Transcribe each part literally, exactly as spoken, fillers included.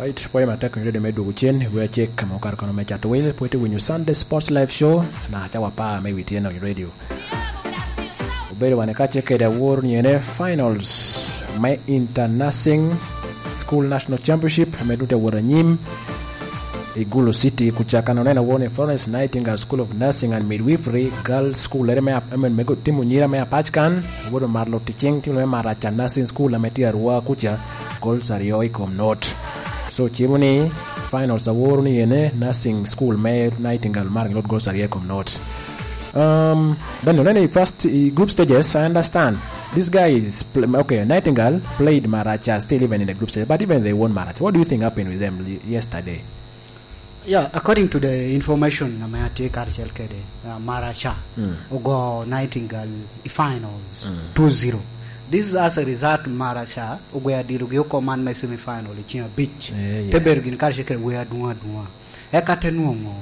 Right, pwoyo matek Onyo Radio me dwogo cen, i wi acek ame okato kono me cato wil, pwod itye winyo Sunday Sports Live Show, na cawa apar me wi tyen Onyo Radio. Obedo wan i kacce kede awor ni ene finals me Inter Nursing School National Championship, ame dute awot anyim i Gulu City, kuca kan oneno awor ni Florence Nightingale School of Nursing and Midwifery Girls School, ere me ap-, ame, me go-, timo nyira me apac kan, obedo mar loti cing, timo me Maraca Nursing School, ame tye Arua kuca, goals aryo i kom not. So, cimo ni finals aworo ni ene nursing school me Nightingale mar lot goals aryo i kom not. Um, then oneno i first, i group stages, I understand. This guy is, pl-, okay, Nightingale played Maracha still even in the group stage, but even they won Maracha. What do you think happened with them li-, yesterday? Yeah, according to the information ame atye karacel kede, uh, Maracha, mm, ogo Nightingale i finals, mm, two zero. This is as a result Maracha ogweo adilogi oko man me semi final i ceng abic. Eh, te yes. Bedo gin karacel kede wer adwoŋ adwoŋa. Eka te nwoŋo,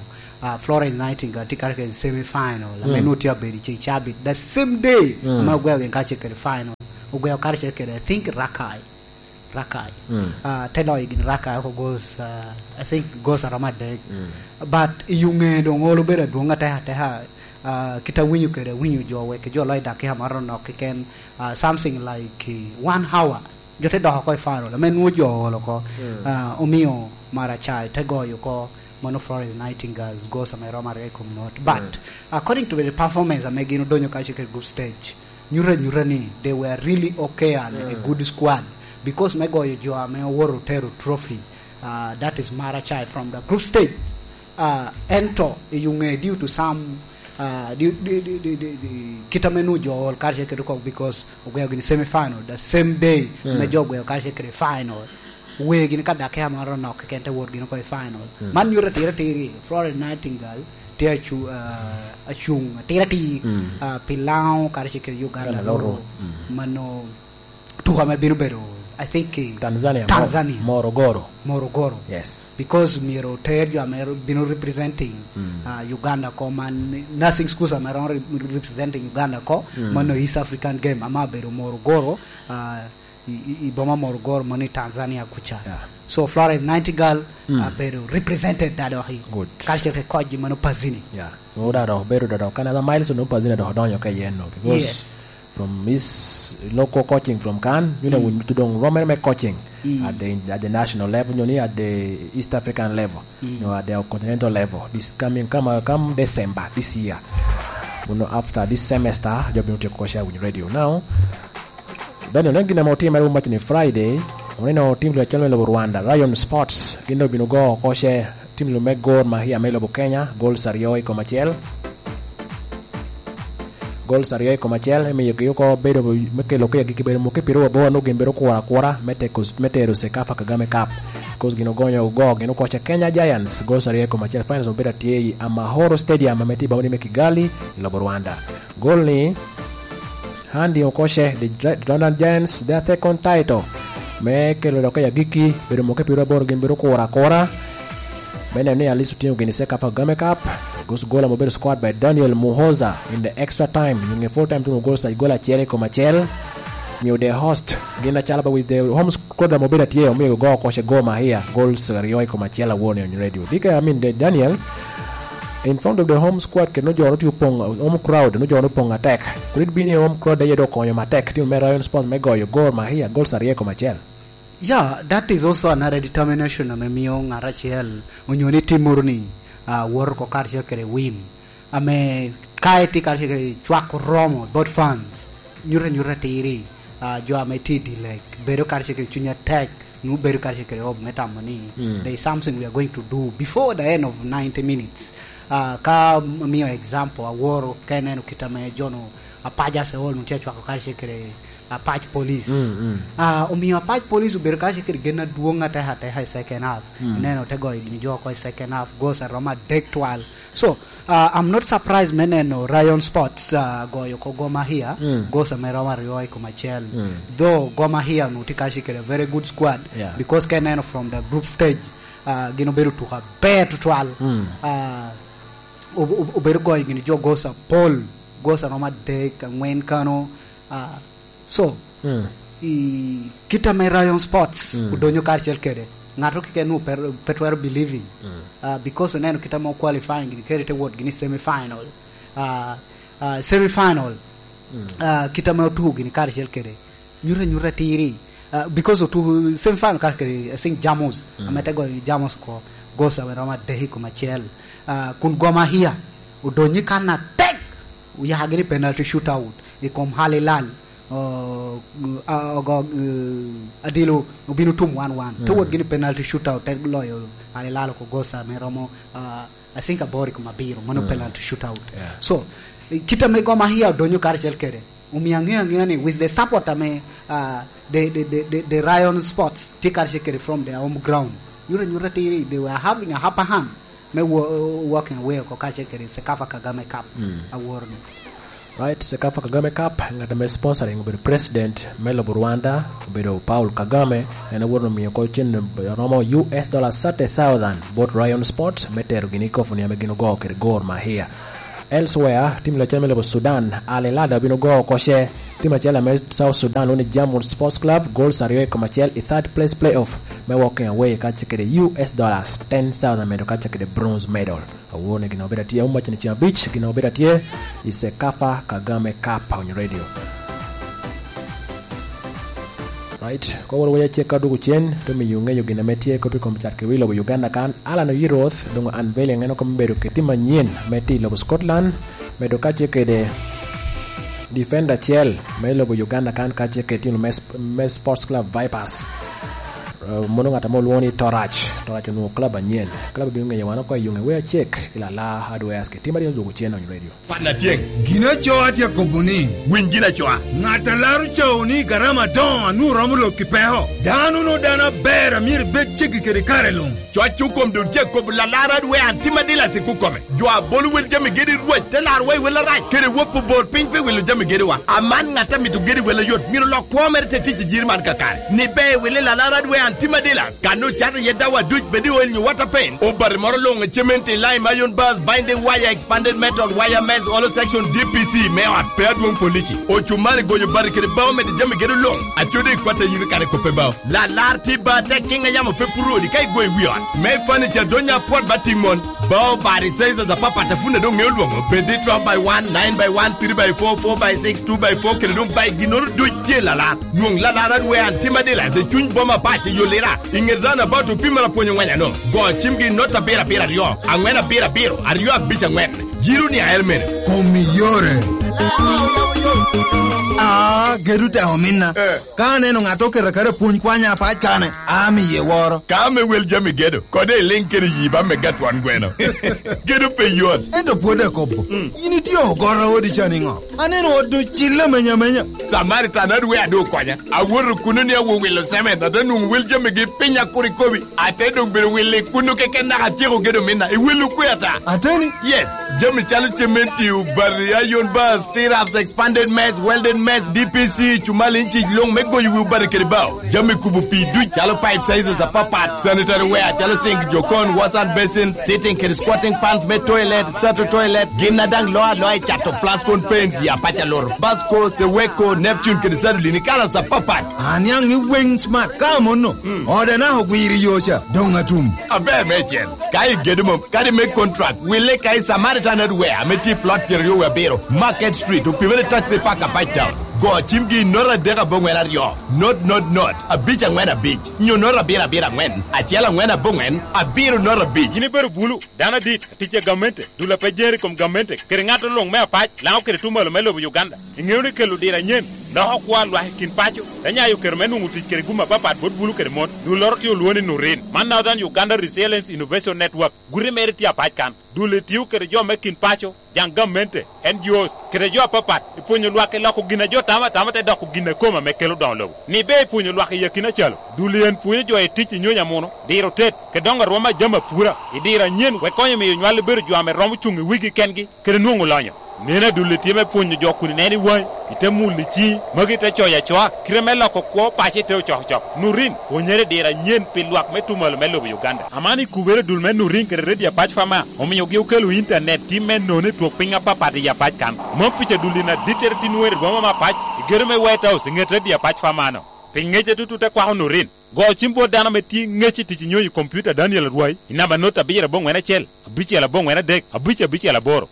uh, Florence Nightingale tye karacel kede semi final, ame, mm, nwoŋo tye abedo i ceng cabit. The same day, mm, ame ogweo gin karacel kede final, ogweo karacel kede, I think, Rakai. Rakai. Mm. Ah, te loyo gin Rakai oko goals, ah, I think goals aromo adek. Mm. But i yo ŋe doŋ olo bedo adwoŋ ateka ateka, ah, kit awinyo kede, awinyo jo wek jo loyo dakika maro nok keken, ah, something like, eh, one hour. Jo te dok oko i final, ame nwoŋo jo oolo oko, mm, ah, omiyo Maracha te goyo oko, mano Florence Nightingale's goals ame romo aryo i kom not. But, mm, according to the performance ame gin odonyo kacel kede group stage, nyuto anyuta ni they were really okay and a, mm, good squad, because me goyo jo ame owoto otero trophy, uh, that is Maracha from the group stage. Uh, ento i yo ŋe due to some, uh, due, due, due, due, due, due, kit ame nwoŋo jo ool karacel kede kok, because ogweo gini semi final the same day, mm, me jo ogweo karacel kede final. Wegi ni ka dakika maro nok keken te wot gini oko i final. Mm. Man nyuto atira atiri, Florence Nightingale tye acu-, ah, acuŋ atira atir, mm, ah, pi Laŋo karacel kede Uganda. Uganda loro. Loro. Mm. Mano tuko ame bino bedo, I think, i Tanzania, Tanzania. Mo-, Morogoro. Morogoro. Yes. Because myero oter jo ame bino representing, mm, ah, Uganda oko, man nursing schools ame romo re-, representing Uganda oko, mm, mano East African Game, ame abedo Morogoro, ah, i, i, i boma Morogoro, mano i Tanzania kuca. Yeah. So Florence Nightingale, mm, abedo represented that dok i, good, culture ke kocgi mano Pazini. Yeah. Nwoŋo dok obedo dok, dok, kan aba Miles onwoŋo Pazini dok odonyo ka yen no, because, yes, from his local coaching from kan, you know, mm, we need to doŋ romo me coaching, mm, at the, at the national level, you know, at the East African level, mm, you know, at the continental level. This coming, come, come December this year. You know, after this semester, jo bino tyeko coach Awinyo Radio. Now, Daniel, oneno gin ame otimere wun waco ni Friday, oneno tim lwec acel me lobo Rwanda, Rayon Sports, gin dok obino go oko ce, tim lwec me Gor Mahia me lobo Kenya, goals aryo i kom acel. Goals aryo i kom acel, emiyogi oko bedo me kelo ke agikki bedo muke piro waboro, nwoŋo gin bedo kuro akura me teko, me tero Sekafa Kagame Cup. Cause gin ogonyo ogo, gin oko ce Kenya Giants, goals aryo i kom acel, finals obedo atye i Amahoro Stadium, ame tye i boma ni me Kigali, i lobo Rwanda. Gol ni, Handing oko ce, the Dra-, Rwandan Giants, their second title. Me kelo dok i agikki, bedo muke piro aboro gin bedo kuro akura. Me neno ni at least otingo gini Sekafa Kagame Cup. Gus gol ame obedo scored by Daniel Muhoza in the extra time. Nyo nge full time tuno gol sa, gol acel i kom acel. Miyo the host, gin acalo ba with the home squad ame obedo atye, omiyo go oko ce Gor Mahia, goals aryo i kom acel awor ni on radio. Dike, I mean, the Daniel, in front of the home squad, kendo jo no tye opoŋ, home crowd, no jo no opoŋ atek. Kulit bini home crowd aye do okonyo matek, team me Rayon Sports me goyo Gor Mahia, goals aryo i kom acel. Yeah, that is also another determination ame miyo ngat acel onyo ni team moro ni, ah, woto oko karacel kede win. Ame ka itye karacel kede cwako romo, both fans, nyuto anyuta atiri, ah, jo ame tye i dye lek, bedo karacel kede cuny atek, nwoŋo bedo karacel kede hope me tamo ni, mm, there is something we are going to do before the end of ninety minutes. Ah, ka m-, miyo example, aworo ka ineno kit ame jo no, Apac Aseol, nwoŋo tye acwako karacel kede Apac Police. Mm, mm. Ah, omiyo Apac Police obedo karacel kede gen adwoŋ ateka ateka i second half. Mm. Ineno te goyo gini jo oko i second half, goals aromo adek twal. So, ah, I'm not surprised me neno Rayon Sports, ah, goyo oko Gor Mahia, mm, goals ame romo aryo i kom acel. Mm. Though Gor Mahia onwoŋo tye karacel kede a very good squad, yeah, because ka ineno from the group stage, ah, gin obedo tuko aber tutwal. Mm. Ah, ob-, ob-, obedo goyo gini jo goals apol, goals aromo adek, angwen kano, ah, So, mm, i kit ame Rayon Sports, mm, odonyo karacel kede, Ŋat keken onwoŋo pe, pe twero believing. Mm. Ah, because oneno kit ame qualifying gini, kede te wot gini semi final. Ah, ah, semi final. Mm. Ah, kit ame otuko gini karacel kede. Nyuto anyuta tiri. Ah, because otuko semi final karacel kede, I think, Jamus. Mm. Ame te goyo Jamus oko. Gosa wen romo adek i kom acel. Ah, kun Gor Mahia odonyo i kan atek. Oyako gini penalty shootout i kom Al Hilal. Oh, ah, ogo, eh, adilo obino tum one one. Te Mm. wot gini penalty shootout, te loyo Al Hilal oko gosa me romo, ah, I think aboro i kom abiro, mano Mm. penalty shootout. Yeah. So, eh, kit ame Gor Mahia odonyo karacel kede, omio aŋeo aŋea ni with the support ame, ah, the, the, the, the, the Rayon Sports tye karacel kede from their home ground. Nyuto anyuta tiri, they were having a upper hand me wo-, walking away oko karacel kede Sekafa Kagame Cup Mm. aworo ni. Right, Sekafa Kagame Cup, ŋat ame sponsoring obedo president me lobo Rwanda, obedo Paul Kagame, en aworo ni omio oko cen romo U S dollars thirty thousand bot Rayon Sports me tero gini i kofoni ame gin ogo kede Gor Mahia. Elsewhere, tim lacen me lobo Sudan, Al Hilal obino go oko ce, tim acel ame South Sudan lwongo ni Jamhur Sports Club, goals aryo i kom acel i third place playoff me walking away kacel kede U S dollars ten thousand medo kacel kede bronze medal. Awor ni gin obedo atye, aum macen ceng abic, gin obedo atye i Sekafa Kagame Cup on radio. Right, koworo waya cek ka dwogo cen, to miyo ŋeyo gin ame tye kop i kom cat kede wi lobo Uganda kan, Alan Oyiroth, doŋ unveiling en oko me bedo keti manyen me ti i lobo Scotland, medo kacel kede defender acel me lobo Uganda kan kacel kede tim me, me Sports Club Vipers. Eh, mono ŋat ame olwoŋo ni Torac. Torac onwoŋo club anyen. Club obino ŋeyo wan oko i yuŋe wea cek i Lala Hardwares kede tim a dino dwogo cen on radio. Pat na tyeŋ. Gin acoa tye akobo ni, winy gin acoa. Ŋat a laro cawo ni garama adoŋo a nwoŋo romo lok i peko. Dano no dano aber a myero ibed ceggi kede kare luŋ. Coc okom dun ce kobo lalarad we an tim adila sik okome. Jo a bolo wel jami gedi Rwot te larwa i wel arac, kede wop obor piny pe wilo jami gediwa. Aman ŋat a mito gedi wel ayot, myero lok kwo mere te tic i jiri man kakare. Ni be wili lalarad we an tim adila. Kan ocato iye dawa duc, bed i oil nyo water paint, obati moro luŋ, cement, lime, iron bars, binding wire, expanded metal, wire mesh, hollow section, D P C, me ot pe adwoŋ polici, ocumari, goyo bati kede bao, medo jami gedo luŋ, acode i kwat a yito kare koppe bao. Lalar tye ba tek kiŋ a yamo pe puro odi ka igoyo i wi ot. Me furniture donya apwot ba tiŋ mon. Bao bati sizes apapat a pun a doŋ ŋeo lwoŋo, bed i twelve by one, nine by one, three by four, four by six, two by four, kede doŋ bai ginnoro duc tye lalar. Nwoŋ lalar adwe an tim adila i cuny boma pac i yo lira, i ŋet roundabout opimere apwony oŋweny ano. Go cimgi i not abiro abiro aryo, aŋwen abiro abiro, aryo abic aŋwen. Jiro ni ael mene. Kom i yore. Ah, gedo te ominna. Eh. Ka aneno ŋat oketo aketa pwony kwanya apac kane, amiye woro. Ka ame wel jami gedo, kode iliŋ kede yi ba mega twon gweno. Gedo pe yot. Ento pwod akobo. Mm. In itye ogoro odi ca niŋo? Aneno ot ocille amenya amenya. Samaritan adwe adu okonya. Awoto kuno ni awo wilo semen, ate nwoŋo wel jamigi piny akur ikobi. Ate doŋ bedo wilo i kuno keken naka atyeko gedo minna. I wilo kwe ata? Ateni? Yes. Jami calo cementi, obati, iron bars, T-raps, expanded mesh, welded mesh, D P C, cumal inci luŋ me goyo wi obati kede bao. Jami kubo pii duc calo pipe sizes apapat, sanitary ware calo sink, jokon, wash and basin, sitting kede squatting pans me toilet, sato toilet, gin a daŋ loo aloa i cato Plascon paints ya paca loro, Basco, Seweko, Neptune kede Sadolini kalas apapat. Aniaŋ i weŋ smart ka amono. Mm. Ode naka ogwiro i yo ca, doŋ atum. Aber me cen. Ka igedo mom, kadi me contract, wille ka i Samaritan Hardware ame tye i plot pyeraryo wie abiro, Market Street, opimere taxi park apac town. Go cimgi i not adek aboŋwen aryo, not, not, not, abic aŋwen abic, nyo not abiro abiro aŋwen, acel aŋwen aboŋwen, abiro not abic. Yin ibedo bulu, dano adit, atic a gamente, dul a pe jer i kom gamente, kede ŋat luŋ me apac, Laŋo kede tuŋ malo me lobo Uganda. Iŋeo ni kelo diro anyen loko kwo a lwak i kin paco, te nyayo kero me nwoŋo tic kede gum apapat bot bulu kede mon. Dulloro tye olwoŋo ni Nurin. Man Northern Uganda Resilience Innovation Network. Guti mere tye apac kan. Dul-li tio kede jo me kin paco, jaŋ gamente, N G Os, kede jo apapat, i pwonyo lwak i loko gin a jo tamo atama te doko gin a kome ame kelo doŋo lobo. Ni be i pwonyo lwak i akina calo, dul-li en pwonyo jo i tic i nyonyo amuno, diro tet, kede doŋo arwom a jami apura, i diro anyen, wek konyo miyo nywal bedo jo ame romo cuŋ i wigi kengi, kede nwoŋo lonyo. Neno adulli tye me pwonyo jo kun ineno i waŋi, ite mulo i ciŋi, magi te coyo acoa, kite me loko kwo paco ite ocokocok. Nurin, pwonyere diro anyen pi lwak me tuŋ malo me lobo Uganda. Aman i kubere dul me Nurin kede redio apac Fama, omiogi okelo intanet tim me nono i twok piny apapat i apac kan. Mom pica dulli na dittere tin wer i boma me apac, i gedo me White House, i ŋet redio apac Fama-no. Pi ŋec atutut akwako Norin. Go cim bot dano ame tye ŋec i tic inyonyo i kompiuta Daniel Arwai i namba not abiro aboŋwen acel, abicel aboŋwen adek, abic abicel aboro.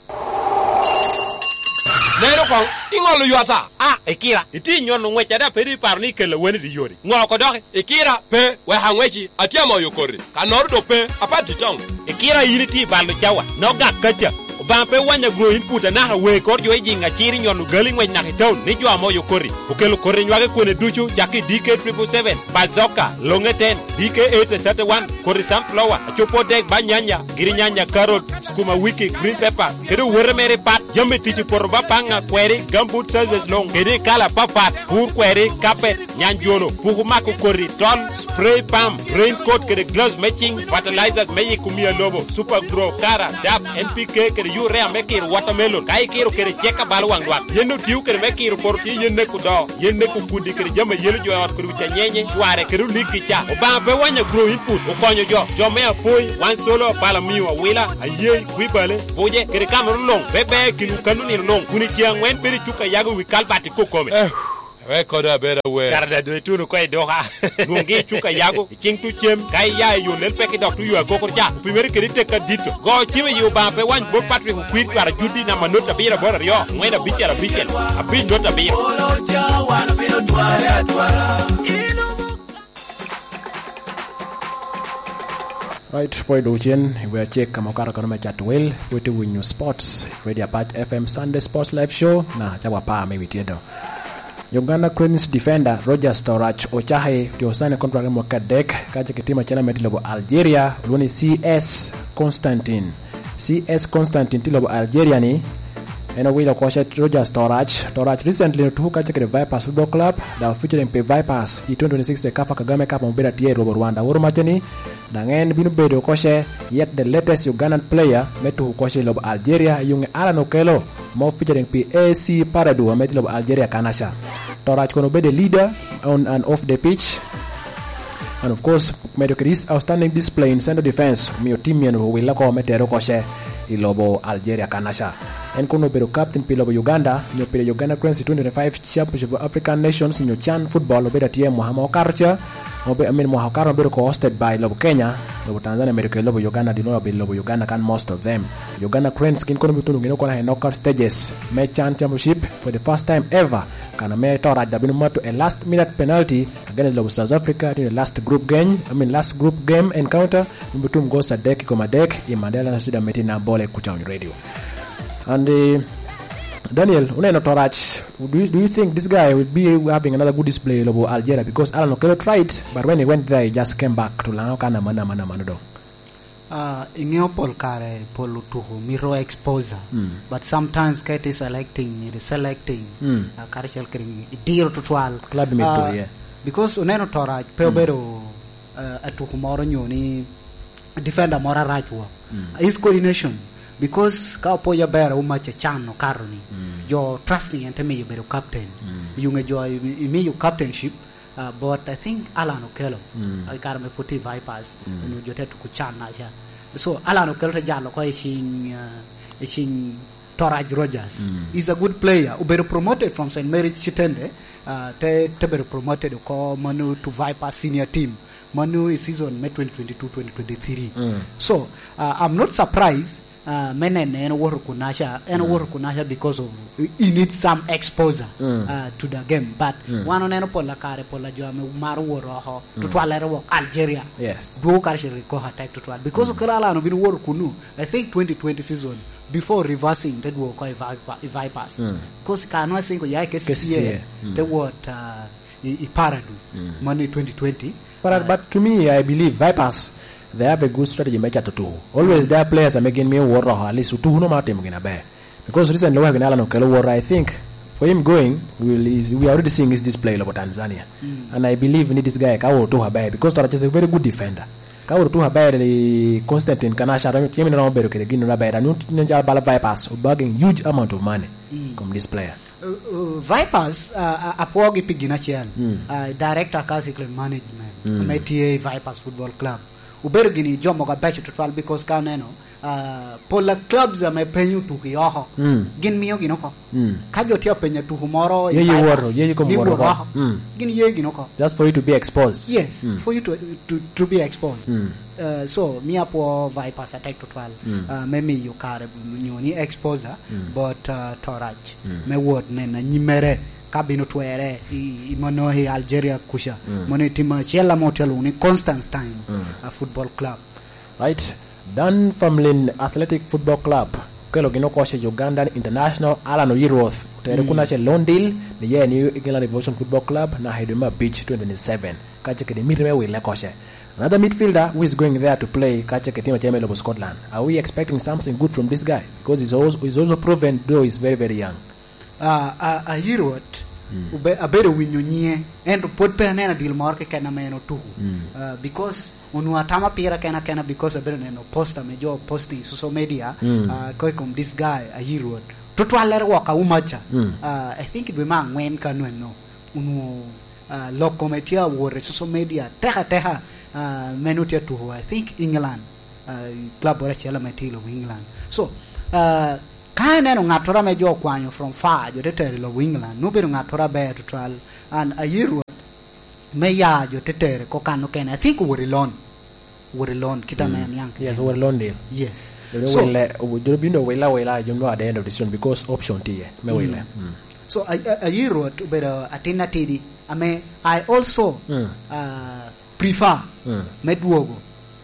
Neno koŋ, iŋolo ywata. A, ikira, itye i nyono ŋwec ada pe iparo ni ikella weni i yori. Ŋo oko doki? Ikira, pe, wek aŋweci, atye amoyo koti. Kannoro dok pe, apati toŋ. Ikira in itye i balo cawa, nogak kaca. Obaŋa pe wanya gro in put anaka wee kor jo i jiŋ acir i nyono gali ŋwec naka i taun ni jo amoyo koti. Okelo koti nywage kwene ducu, cak i D K triple seven, Bazoka, Longe ten, D K eight thirty-one, koti sunflower, acopo dek ba nyanya, giri nyanya, carrot, skuma wiki, green pepper, kede owote mere pat, jami tic i poto ba paŋa, kweri, gumboot sizes luŋ, kede i kala papat, pur kweri, carpet, nyanjono, puku mako koti, tol, spray pump, raincoat kede gloves me ciŋ, fertilizers me yiko mia lobo, super grow, kara, dap, N P K kede urea me kiro watermelon, ka ikiro kede cek abalo waŋ lwak. Yen otio kede me kiro poto tye yen neko do, yen neko kudi kede jami a yelo jo i ot kodi ocanyenye, cware kede olik ki ca. Obaŋa pe wanya grow input, okonyo jo, jo me apoi, wan solo, pala mio, awila, ayei, kwibale, buje, kede kamoro luŋ, pe ber kinwu kano nino luŋ, kun i ceŋ aŋwen bedo i cuk a yago wi kalbat i kokome. Eh, wek kodo abed awer. Kara da dwe tuno ko i duka. Lwoŋgi i cuk a yago, i ciŋ tu cem, ka iya i yo lel pek i dok tu yo agokoro ca, opimere kede tek adito. Go cim i yi Obaŋa pe wany bot Patrick Okwir cwara Judi namba not abiro aboro aryo, aŋwen abicel abicel, abic not abiro. Right, pwod dok cen i wi acek ka ma okato kono me cato wel, wot i winyo sports, Radio Apac F M Sunday Sports Live Show, na cawa apar me wi tyedo. Uganda Cranes defender Rogers Torach Ocahe otye osaine kontrak me mwaka adek, ka ce kitimo acel amed i lobo Algeria, olwongo ni C S Constantine. C S Constantine tye i lobo Algeria ni, en owilo oko ce Rogers Torach. Torach recently otuko kacel kede Vipers Football Club, dok featuring pi Vipers i twenty twenty-six CECAFA Kagame Cup ame obedo atye i lobo Rwanda. Oro macce ni, daŋ en bino bedo oko ce yet the latest Ugandan player me tuko oko ce i lobo Algeria, i yuŋe Alan Okello, mo featuring pi A C Paradu ame tye i lobo Algeria kanaca. Torach kono obedo a leader on and off the pitch. And of course, medo kede his outstanding display in central defense, omiyo team mien owille oko me tere oko ce i lobo Algeria kanaca. En kono obedo captain pi lobo Uganda, nyo pi Uganda Cranes i twenty twenty-five Championship of African Nations, nyo CHAN Football, obedo atye mwaka ma okato ca, obe-, I mean, mwaka okato obedo ko hosted by lobo Kenya, lobo Tanzania, medo kede lobo Uganda, dino obedo lobo Uganda kan most of them. Uganda Cranes gin kono bituno gin oko i knockout stages me CHAN Championship for the first time ever, kan ame Torach da bino mato a last minute penalty against lobo South Africa during the last group game, I mean, last group game encounter, me bitum goals adek i kom adek i Mandela Stadium, ame tye Nambole, Kuchang Radio. And, eh, Daniel, uneno Torach, do you, do you think this guy will be having another good display i lobo Algeria? Because Alan Okello tried, but when he went there, he just came back to Lango Kana, mana, mana, mana, do. Ah, iŋeo pol kare, pol otuko mito exposure. Mm. But sometimes ka iti selecting, iti selecting, mm, ah, karacel kede idiro tutwal. Club mito, ah, yeah. Because oneno Torach pe, mm, obedo, ah, atuko moro nyo ni defender moro arac wok. Mm. His coordination, because ka opoyo aber, Umac Achan okato ni, mm, jo trusting en te miyo bedo captain. Mm. Yuŋe jo imi-, imiyo captainship, Uh, but I think Alan Okello, mm, uh, i kare me pwod tye i Vipers, mm, onyo jo te tuko CHAN naca. So, Alan Okello te jalo oko i cing, uh, i cing Torach Rogers. Mm. He's a good player. Obedo promoted from Saint Mary's Kitende, uh, te, te bedo promoted oko mano to Vipers senior team. Mano i season me twenty twenty-two twenty twenty-three. Mm. So, uh, I'm not surprised ah, me nene en owoto kunaca, en, mm, owoto kunaca because of, he needs some exposure, mm, ah, to the game. But, mm, wan oneno pol a kare, pol a jo ame maro wot oko, mm, tutwal ere wok Algeria. Yes. Dwogo karacel kede Koha Tech tutwal. Because, mm, Okello Alan obino woto kunu, I think twenty twenty season, before reversing, te dwogo oko i Vipa-, i Vipers. Mm. Because ka nwa singo ya i K C C A, K C C A, mm, te wot, ah, i, i Paradu, mm, mano i twenty twenty. But, uh, but to me, I believe Vipers, they have a good strategy me cato tuko. Always, mm, there are players ame gin mio wot oko, at least tuko no ma timo gin aber. Because recently, wek gin Alan Okello wot, I think, for him going, we will, is, we are already seeing his display lobo Tanzania. Mm. And I believe ni this guy ka wot tuko aber, because Torach is a very good defender. Ka wot tuko aber, eh, Constantine Kanasha, timi ni romo bedo kede gin aber, and you know, jal bala Vipers, bagging huge amount of money, mm, from this player. Uh, uh, Vipers, uh, uh, apwogi pi gin acel. Mm. Uh, Director Council Management, mm, ame tye i Vipers Football Club, Obedo gini jo mogo abeco tutwal, because ka oneno, ah, pol a clubs ame penyo tuko i oko, mm, gin mio gin oko. Mm. Ka jo tye apenya tuko moro, ye, ye iwot, ye, ye kom wot oko. Mm. Gin ye gin oko. Just for you to be exposed. Yes, mm, for you to, to, to be exposed. Mm. Uh, so, mi apwo Vipers atek tutwal, mm, uh, me miyo kare nyo ni exposure, mm, but, uh, Torac, mm, me wot nen anyimere ka bino twere i, i mono i Algeria kuca. Mm. Mono i tim acel ame otye alwongo ni Constantine, mm, uh, Football Club. Right. Dan Famlin Athletic Football Club okelo gin oko ce Ugandan International Alan Oyirwoth, otere, mm, kun acel Londil, ni ye New England Revolution Football Club, na i dwe me abic twenty twenty-seven, kace kede miti me wile koce. Another midfielder who is going there to play, kace kede tim acel me lobo Scotland. Are we expecting something good from this guy? Because he's also, he's also proven, though he's very, very young. Ah, a, a Herod, mm, obe-, abedo winyo nyinge, ento pwod pe aneno adil moro keken ame en otuko. Mm. Ah, because onwoŋo atamo pira kena kena, because abedo neno poster me jo posting i social media, mm, ah, ko i kom this guy, a Herod. Tutwallere wok a Umacha. Mm. Ah, I think dwe me angwen ka nwenno, onwoŋo, ah, lok kome tye awot i social media teka teka, ah, meno tye atuko, I think, England. Ah, club moro acel ame tye i lobo England. So, ah, ka ineno ŋattoro ame jo okwanyo from far, jo te tero i lobo England, nwoŋo obedo ŋattoro aber tutwal. And a Herod me ya jo te tere ko kan okene, I think owot i loan. Owot i loan, kit ame, mm, aniaŋ keken. Yes, owot i loan deal. Yes. Jo, so, wille, obu-, jo bino willa willa, jo nwoŋo at the end of the season because option tye me, mm, wille. Mm. So, a, a, a Herod obedo atin atidi, ame I also, mm, ah, prefer, mm, me dwogo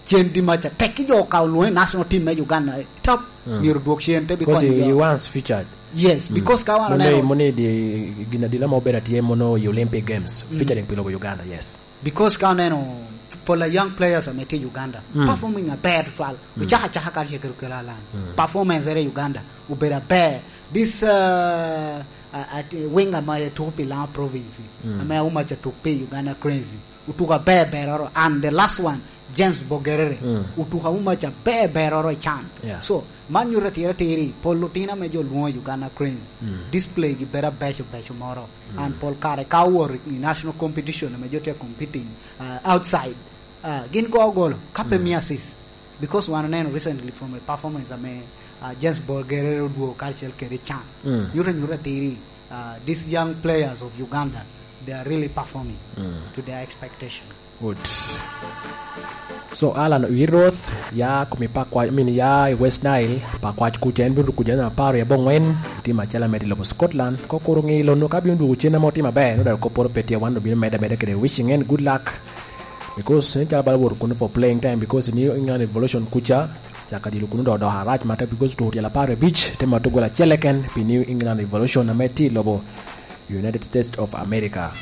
cen di maca. Tek ki jo ka olwoŋe national team me Uganda, top, mm, myero odwog cen te bi, because konyo he, jo, he wants featured. Yes, mm, because ka wan oneno, mono i di gin adila ma obedo atye mono i Olympic Games, mm, featuring pi lobo Uganda, yes. Because ka oneno pol a young players ame tye i Uganda, mm, performing aber tutwal, mm, ocako acaka karacel kede Okello Allan. Mm. Performance ere i Uganda obedo aber. This, uh, uh, uh, winger ma tuko pi Lango Province, mm, ame Umacha tuk pi Uganda Cranes, otuko aber beroro. And the last one, James Bogerere, mm, otuko Umacha aber beroro i can. Yeah. So, man nyuto atira atiri, pol otino ame jo lwoŋo i Uganda Cranes, mm, display gi bedo abeco beco moro. Mm. And pol kare ka owoto i national competition ame jo tye competing, uh, outside, uh, gin go golo, ka pe, mm, mio assist. Because wan oneno recently from a performance ame, uh, James Bogerere odwogo karacel kede can. Mm. Nyuto anyuta atiri, uh, these young players of Uganda, they are really performing, mm, to their expectation. Good. So, Alan Oyirwoth, ya kumi Pakwac, I mean, ya i West Nile, Pakwac kuca, en bino kuca en apar i abongwen, i tim acel ame tye i lobo Scotland. Ko kuro ŋi lono ka bino dwogo cen ame otimo aber, no dok kopporo pe tye, wan obino medde ameda kede wishing en good luck. Because en calo bala wot kuno for playing time, because New England Revolution kuca, caka dilo kuno dok odoko arac matek, because otuko tyel apar abic, te mato gol acel keken pi New England Revolution ame tye i lobo United States of America.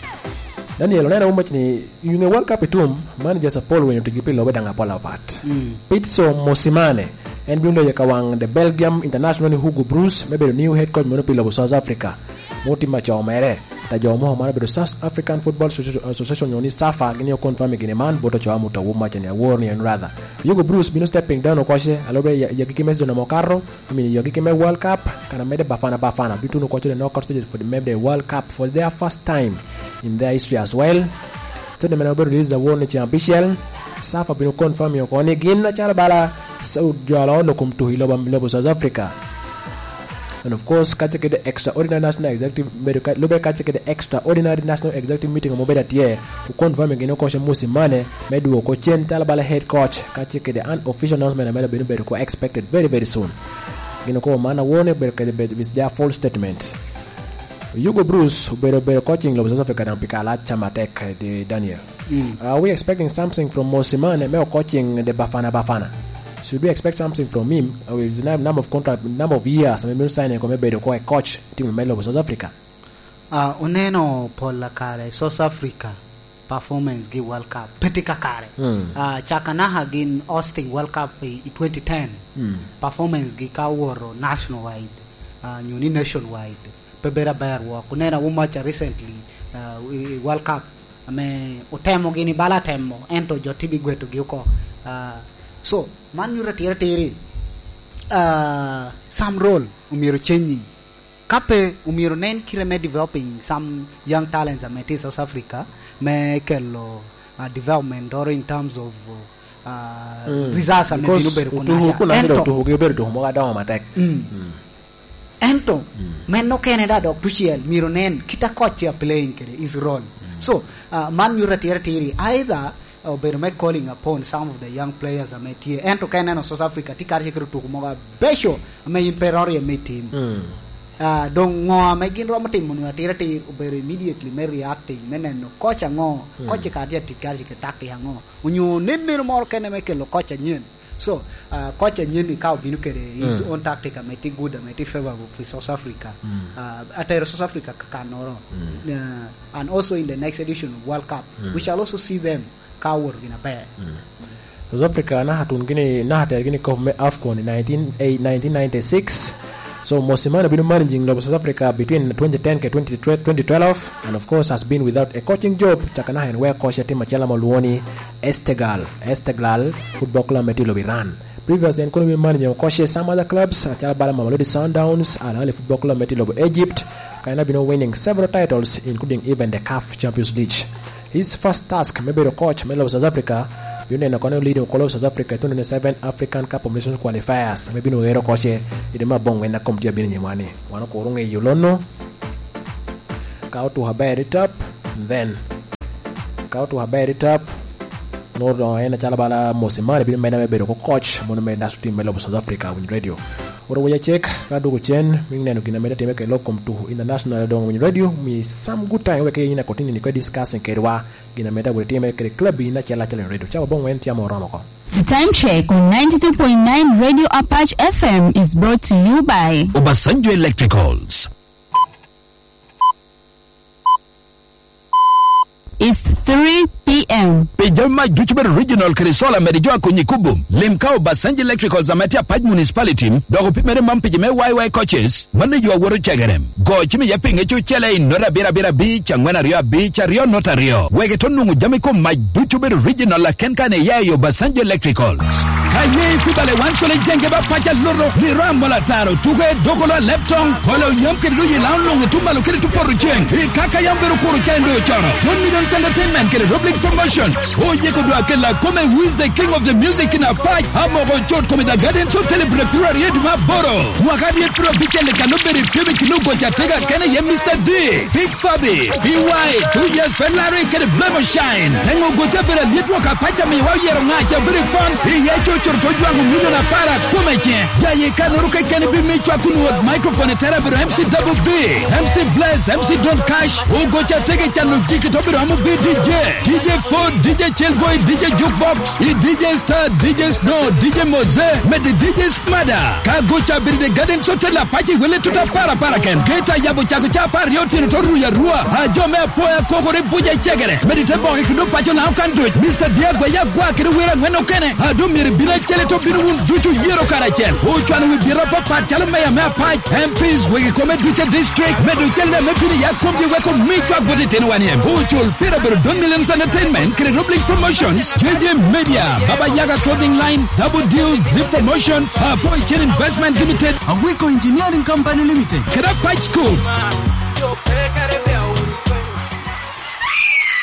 Daniel, oneno wun mac ni, i ŋe World Cup i tum, manager Sir Paul Winy otigi pi lobe daŋ apol apat. Mm. Pitso Mosimane, en bino loyo ka waŋ the Belgium international ni Hugo Broos, me bedo new head coach mono pi lobo South Africa. Mo tim acoo mere, ta jo mo mano bedo South African Football Association, Association nyo ni safa, gini o confirm gini man, boto coo amuta wun mac ni awor ni en rather. Hugo Broos bino stepping down okoce, alobe ya, ya giki me season amo kato, I mean, yogi keme World Cup, kana mede Bafana Bafana, bituno kwaco the knockout stages for the, maybe the World Cup for their first time in their history as well. Statement obedo release awor ni ceng abicel, safa bino confirm yo koni gin acalo bala Saud jolo no kum tuhi lobo, lobo South Africa. And of course, kace kede extraordinary national executive, bedo ka, lube kace kede extraordinary national executive meeting omo bedo atye, ku confirm gin okoce Musi Mane, me dwoko cen calo bala head coach, kace kede an official announcement ame bino bedo ko expected very, very soon. Gin okobo man awor ni obedo kede bed, is their full statement. Hugo Bruce obedo, obedo coaching lobo South Africa daŋ pi kare alac ca matek, eh, di Daniel. Mm. Are we expecting something from Mosimane me coaching the Bafana Bafana? Should we expect something from him? Uh, it's a number of contract, number of years, I mean, signing ko me bedo ko a coach team me lobo South Africa. Ah, oneno pol kare South Africa performance gi World Cup. Pe tye kakare. Mm. Ah, caka naka gin hosting World Cup i, i twenty ten. Mm. Performance gi ka owoto national wide, ah, nyo ni nationwide, pe bedo aber wok. Oneno Umacha recently, ah, i, i World Cup, ame otemo gini bala temo, ento jo tye bigweto gi oko. Ah, so, man nyuto atira atiri, ah, Sam Roll omyero changing. Ka pe, omyero nen kite me developing some young talents ame tye i South Africa, me kelo, uh, development oro in terms of, uh, ah, Mm. results ame Because bino bedo kun otuko aca. Kun aca Ento, otuko gi obedo tuko mogo adoŋo matek. Mm. Mm. Ento, Mm. men okene da dok tucel, myero nen kit a coach a playing kede his role. Mm. So, ah, man nyuto atira atiri. Either, ah, obedo me calling upon some of the young players ame tye. Ento ka ineno South Africa, tye kare kede otuko mogo abeco ame in pe iroro ame itim. Mm. Ah, doŋ ŋo ame gin romo timo nwoŋo atira atir obedo immediately me reacting, me neno coach aŋo, Mm. coach ka tye atic kare kede tactic aŋo. Onyo nen neno moro kene me kelo coach anyen. So, ah, coach anyen ni ka obino kede his Mm. own tactic ame tye good, ame tye favorable for South Africa. Mm. Ah, atero South Africa kakannoro. Mm. Ah, and also in the next edition of World Cup, Mm. we shall also see them ka owoto gin aber. Mm. South Africa naka tun gini, naka tero gini kop me afcon i nineteen, eh, nineteen ninety-six. So, Mosimane obino managing lobo South Africa between twenty ten ke twenty twelve, and of course has been without a coaching job, caka naka en weko coach atim acel ame olwongo ni Estegal, Esteglal Football Club me tye lobo Iran. Previous en kono obino managing coach some other clubs, acalo bala Mamelodi Sundowns, Al Ahly Football Club me tye lobo Egypt, ka en abino winning several titles, including even the caf Champions League. His first task me bedo coach me lobo South Africa, bino neno kono leading okolo South Africa i twenty twenty-seven African Cup of Nations qualifiers, me bino wero coach i dwe me abong en akom tye abino nyimwa ni. Wan okuro ŋeyo lono. Ka otuko aber i tap, then ka otuko aber i tap, nwoto en acalo bala Mosimane bino meda me bedo ko coach, mono me national team me lobo South Africa, Winy Radio. Oro waya cek, ka dwogo cen, mi neno gin ame tye time kede lok kom tuko international, doŋ Winy Radio, mi some good time wek yin akotini ni ko discussing kedwa, gin ame dawoto time kede club in acel acel in radio. Cawa boŋ wen tye ame oromo oko. The time check on ninety-two point nine Radio Apache F M is brought to you by Obasanjo Electricals. It's three p.m. Pi jami mac ducu bedo original kede solar mede jo akonyi kubo. Lim ka Obasanjo Electricals ame tye Apac Municipality, dok opimere mam pigi me Y Y coaches, mano yo awoto cegerem. Go cim iye pinge cucele i nota abiro abiro abic, angwen aryo abic, aryo nota aryo. Wek ito nwoŋo jami kom mac ducu bedo original aken kan iya i Obasanjo Electricals. Ka ye i kubale wan cwale jenge ba pac aloto, liro amol ataro, tuke, dokolo a leptong, kolo yam kede doyi lao luŋ i tum malo kede tum poto ceng. I kaka yam bedo kuro ca en doŋ ocono. John Millions Entertainment kede Roblic Promotions. Oyeko dwa kela kome Who is the King of the Music in Apac. Amoko cot kome The Gardens Hotel i Brepiro aryo dwe me aboro. Mwaka aryo piro abicel i kano bedo i pim i kino goca tega kene ye Mister D. Big Fabi, B Y, two years pe laro i kede Blemo Shine. Teŋo gote bedo alyet wok apac amiwa oyero ŋaca bedo i pon. Iye cocoro to jwaŋo milion apar akome ce. Jaye kanoro keken bi mi cwak kun wot microphone i tera bedo M C Double B, M C Bless, M C Don Cash. Ogoca tege cano jiki to bedo amo bi D J. D J Ford, D J Chillboy, D J Jukebox, i D J Star, D J Snow, D J Moze, mede D J Smada. Ka goca bedo i The Gardens Hotel apac i wele tuta para para ken. Geta yabo cako ca apar aryo otyeno to ruyo arua. A jo me apoya kokore buca cegere. Mede te boke kendo paco na okan duc. Mister Diagwa ya gwa kede wira angwen okene. A do myero bino acel to bino wun ducu yero karacel. Ocwano wi bira papat calo meya me apac. M Ps wegi kome duce district. Medo cel ne me bino ya komgi weko mi cwak bot itino wan yem. Ocul pira bedo Don Millions Entertainment kede Roblink Promotions. J J Media, Baba Yaga Clothing Line, Double Deal, Zip Promotion, Apo Chen Investment Limited, Awiko Engineering Company Limited, kede Apac School.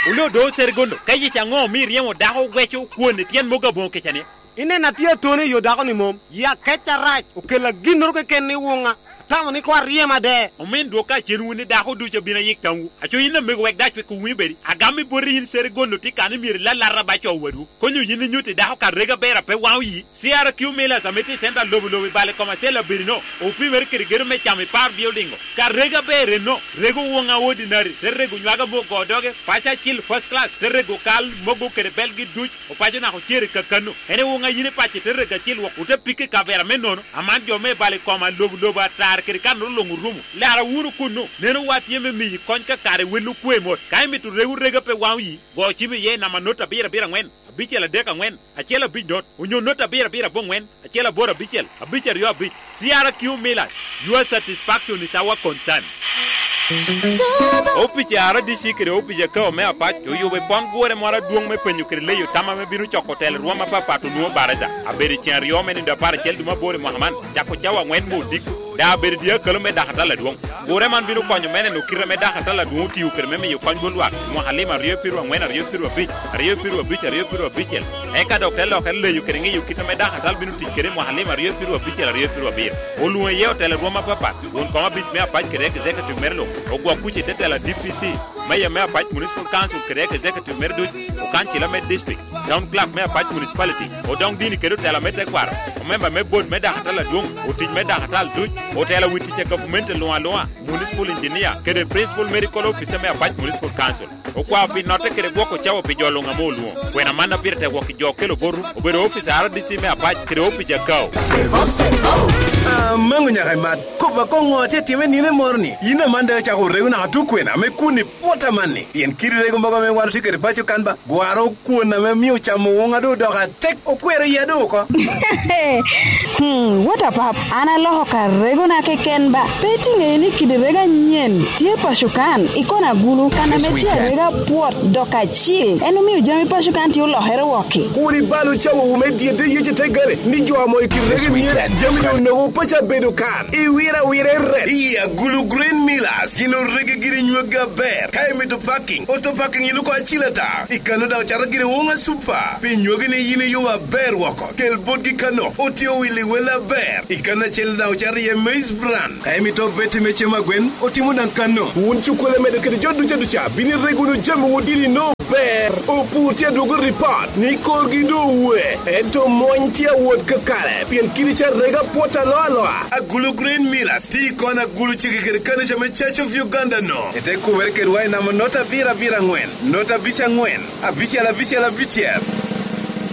Wule odo Seregondo, ka yec aŋo omio iryemo dako weco kwon i tyen mogo aboŋo kecani? Ineno atye atone i yo dako-ni mom, ya kec arac, okela ginnoro keken i woŋa. Atamo ni koŋ aryem ade. Omin dwok ka cen wun i dako ducu abino ayik tamwu. Aco yin amego wek dac wek owinyo bedi. Agam i boti yin Seregondo tye kan ni myero ilalata ba co wadwu. Konyo yin inyuto i dako ka rega ber a pe waŋo yi. C R Q Millers ame tye i center lobo lobo i bale kom acel abedi no, opimere kede gedo me camo i par building o. Ka rega ber enno, rego woŋa ordinary, te rego nywaga mogo doge, paco acil first class, te rego kal mogo kede belgi duc, opaco naka ocer i kakano. En i woŋa yin i paco te rego acil wok, ote pike i kavera me nono. Aman jo me balo i koma lobo lobo atar kede kan olo luŋ orumo. Lara wunu kunnu, neno wa tye me miyi kony ka kare wel okwe mot. Ka imito rego rega pe waŋo yi, go cim iye i namba not abiro abiro aŋwen, abicel adek aŋwen, acel abic not, onyo not abiro abiro aboŋwen, acel aboro abicel, abic aryo abic. C R Q Millers, your satisfaction is our concern. Opic a R D C kede opic a K O me Apac oyubo i pon gure moro adwoŋ me penyo kede leyo tam ame bino coko telo rwom apapat onwoŋo baraza. Abedo i ceŋ aryo me nindo apar acel dwe me aboro i mwaka man, cako cawa aŋwen me odiko. Daŋ abedo tye akalo me dakatal adwoŋ. Gure man bino konyo me neno kite ame dakatal adwoŋ otio kede me miyo kony bot lwak i mwaka lim aryo pieru aŋwen, aryo pieru abic, aryo pieru abic, aryo pieru abicel. Eka dok te lokere leyo kede ŋeyo kit ame dakatal bino tic kede i mwaka lim aryo pieru abicel, aryo pieru abiro. Olwoŋo iye otela rwom apapat, won kom abic me apac kede executive mere luŋ, ogwok kuc i te tela D P C, meya me apac municipal council kede executive mere duc, okancila me district, town clerk me apac municipality, odoŋ dini kede otela me tekwaro, omemba me bot me dakatal adwoŋ, otic me dakatal duc, otela wi tic a gavumenti luŋ aluŋa, municipal engineer, kede principal medical officer me apac municipal council. Okwao pi notte kede gwoko cawa pi jo luŋ ame olwoŋo. Kwena man a pire tek wok i jo okelo botwu, obedo ofice R D C me apac kede opic akao. Amaŋo nyaka imat, kop akoŋo atye time nino moro ni, yin aman daŋ icako rego naka tuk kwena ame kun i pwot amanni, pien kidi rego mogo ame wan otye kede paco kan ba, gwaro kwon ame mio camo woŋa doŋ odoko atek, okwero iya doŋ oko. Hmm, what a pap, an aloko ka regona keken ba. Pe itiŋeyo ni kidi rego anyen tye paco kan, i kona gulu, kan ame tye arega pwot dok acil, en omio jami paco kan tye olokere wokki. Kur ibal ocawo wu me dyedde yece te gale, ni jo amo i kidi rego anyen, jami onoko paco abedo kan, iwira wira i ret. Iya gulu Green Millers, gin orege giri nywagi aber, ka imito parking, auto parking iluko acil ata, i kano daŋ ocato giri woŋa super, pi nywagi ni yin iyubo aber woko, kel botgi kano, otye owili wel aber, i kano acel daŋ ocato iye maize bran, ka imito beti me cem agwen, otimo daŋ kano. Wun cukkole medo kede jo duca duca, bino irego wunu jami wun dini no ber, opur tye adwogo ripot, ni korgi doŋ owe, ento mony tye awot kakare, pien kidi ca rega pwot aloa aloa. Agulu Green Millers, ti kon agulu cege kede kano ca me Church of Uganda no. Ete kumere kedwa i namba nota abiro abiro aŋwen, nota abic aŋwen, abicel abicel abicel.